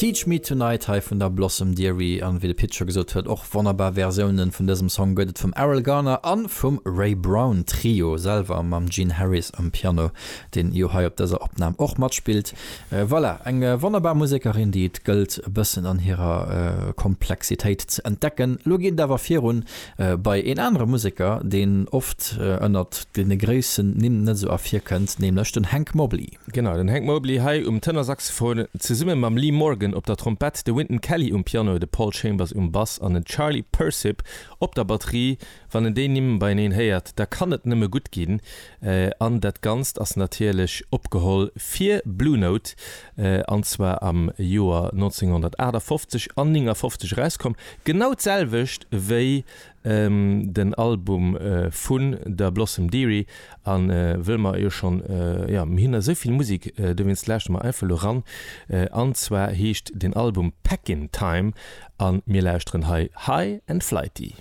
Teach Me Tonight hei vun der Blossom Dearie an wéi de Pit scho gesot huet, och wonnerbar Versiounen vun dësem Song gëtt et vum Erroll Garner an vum Ray Brown Trio selwer mam Gene Harris um Piano, deen jo hei op dëser Opnam och matspillt. Voilà, eng wonnerbar Musekerin, déi et gëllt e bëssen an hirer Komplexitéit ze entdecken. Lo geet et awer virun bei een anere Museker, deen oft ënnert deene groussen Nimm net esou ervirkënnt, nämlech den Hank Mobley. Genau, den Hank Mobley hei um Tenorsaxophon, zesumme mam Lee Morgan op der Trompett, de Wynton Kelly um Piano, de Paul Chambers um Bass an den Charlie Persip op der Batterie. Wann en déi Nimm beieneen héiert, da kann et nëmme gutt ginn. An dat Ganzt ass natierlech opgeholl fir Blue Note, an zwar am Joer 1958 an 59 erauskomm. Genau d'selwecht wéi den Album vun der Blossom Dearie. An wëll mer jo schonn, jo mir hunn esou vill Musek, dowéinst lauschtere mer einfach elo ran. An zwar heescht den Album Packin' Time an mir lauschteren hei High and Flighty.